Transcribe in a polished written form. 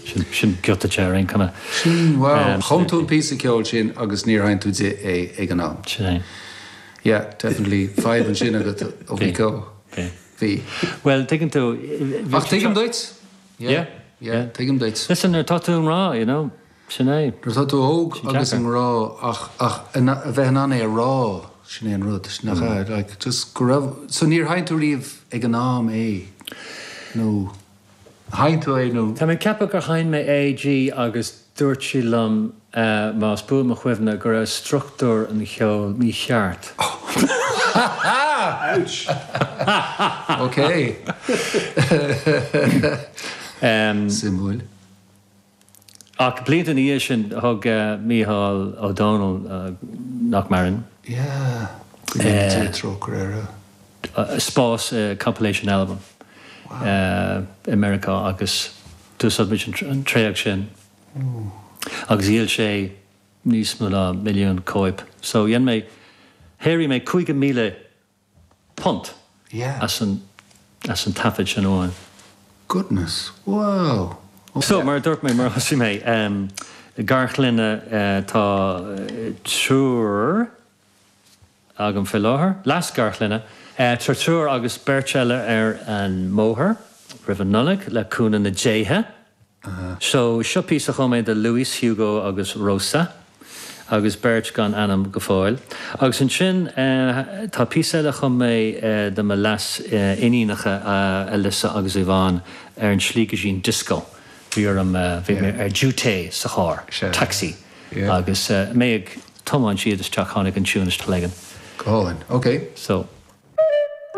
Sin, sin giota de ar aon chuma. Sin, wow. Chum tú an píosa ceoil sin agus níor sheinn tú di é ag an am. Sin é. Yeah, definitely fadhb ansin agat a Mhíceó. Bhí. Bhí. Bhuel, tuigeann tú. Ach tuigim duit. Yeah. Yeah, tuigim duit. Listen, nuair atá tú i ngrá, you know, sin é. Nuair atá tú óg agus i ngrá ach, ach a bheith in ann é a rá, sin é an rud, nach ea? Like, just go raibh, so níor sheinn tú riamh ag an am é, nó sheinn tú é nó? Tá mé ag ceapadh gur sheinn mé é di agus dúirt sí liom, más buan mo chuimhne, go raibh struchtúr an cheoil mícheart. Ouch! Ok. Suimiúil. Ach blianta ina dhiaidh sin, thug Mícheál Ó Domhnaill, nach maireann. Yeah, go ndéana Dia trócaire air. spás compilation album i Meiriceá agus d'úsáid muid an tréag sin agus dhíol sé níos mó ná milliún cóip. So dhein mé, shaothraigh mé £5,000 as an as an taifead sin amháin. Goodness, wow! So, mar a dúirt mé, mar a thosaigh mé, garchlainne, tá triúr agam faoi láthair, leas-gharchlainne, tá triúr agus beirt eile ar an mbóthar roimh an Nollaig, le cúnamh na ndéithe. So, seo píosa a chum mé do Luis, Hugo agus Rosa, agus beirt gan ainm go fóill. Agus ansin tá píosa eile a chum mé do mo leas-iníonacha, Alyssa agus Yvonne, ar an tslí go dtí an dioscó. Bhí orm, bhí mé ar duté sa charr, taxi, agus mé ag tiomáint iad isteach tháinig an tiún isteach Go hálainn. Ok. So.